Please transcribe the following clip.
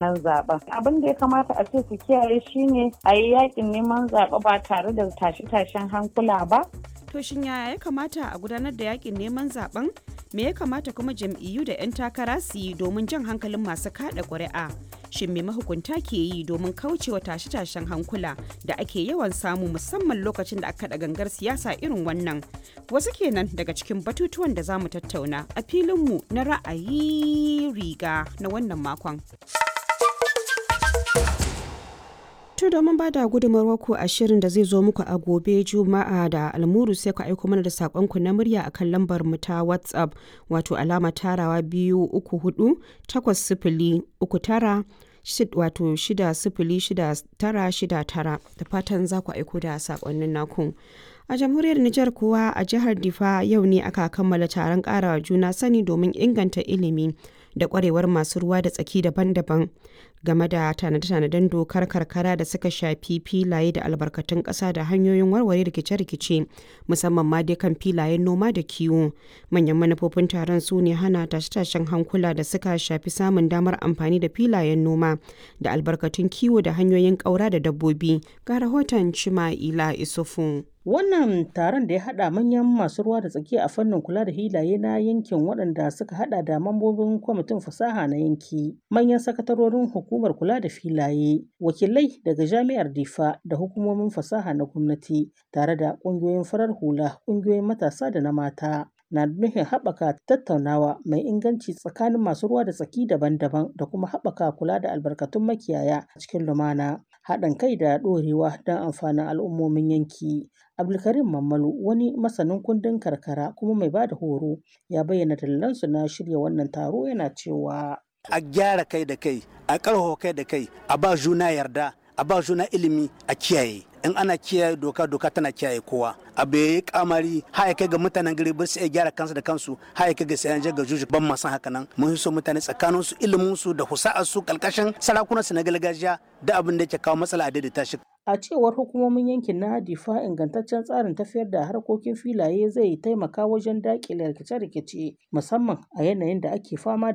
Nan zaben abin da ya kamata a ce su kiyaye shine a yi yakin neman zaɓe ba tare da tashe-tashen hankula ba. To shin yaya ya kamata a gudanar da yakin neman zaben? Me ya kamata kuma jam'iyyu da 'yan takara su yi domin jan hankalin masu kada ƙuri'a? Shin me mahukunta ke yi domin kaucewa tashe-tashen hankula da ake yawan samu musamman lokacin da aka kaɗa gangar siyasa irin wannan? Wasu kenan daga cikin batutuwan da za mu tattauna a filinmu na ra'ayi riga na wannan makon. To domin ba da gudunmawar ku a shirin da zai zo muku a gobe Juma'a da almuru, sai ku aiko mana da saƙonku na murya akan lambar mu ta WhatsApp, wato alama tarawa 234 8039, wato 606969, da fatan za ku aiko da saƙonnin naku. A jamhuriyar Nijar kuwa, a jihar Difa yau ne aka kammala taron ƙarawa juna sani domin inganta ilimi da ƙwarewar masu ruwa da tsaki daban-daban game da tanade-tanaden dokar karkara da suka shafi filaye da albarkatun ƙasa da hanyoyin warware rikice-rikice, musamman ma dai kan filayen noma da kiwo. Manyan manufofin taron su ne hana tashe-tashen hankula da suka shafi samun damar amfani da filayen noma da albarkatun kiwo da hanyoyin ƙaura da dabbobi. Ga rahoton Chima'ila Isufu. Wannan taron da ya haɗa manyan masu ruwa da tsaki a fannin kula da hilaye na yankin, waɗanda suka haɗa da mambobin kwamitin fasaha na yanki, manyan sakatarorin hukumar kula da filaye, wakilai daga jami'ar Difa da hukumomin fasaha na gwamnati, tare da ƙungiyoyin farar hula, ƙungiyoyin matasa da na mata, na nufin haɓaka tattaunawa mai inganci tsakanin masu ruwa da tsaki daban-daban da kuma haɓaka kula da albarkatun makiyaya cikin lumana, haɗin kai da ɗorewa don amfanin al'ummomin yanki. Abdulkarim Mammalu, wani masanin kundin karkara kuma mai ba da horo, ya bayyana dalilansu na shirya wannan taro, yana cewa: A gyara kai da kai, a ƙarfafa kai da kai, a ba juna yarda, a ba juna ilimi, a kiyaye. In ana kiyaye doka, doka tana kiyaye kowa. Abu yayi kamari har kai ga mutanen gari ba su iya gyara kansu da kansu, har kai ga sayan ga juju, ban ma san haka nan. Mun so mutane tsakanin su, ilimin su da husa'ar su, kalkashin sarakunan su na gargajiya, da abin da yake kawo matsala a daidaita shi. A cewar hukumomin yankin na Difa, ingantaccen tsarin tafiyar da harkokin filaye zai taimaka wajen daƙile rikice-rikice, musamman a yanayin da ake fama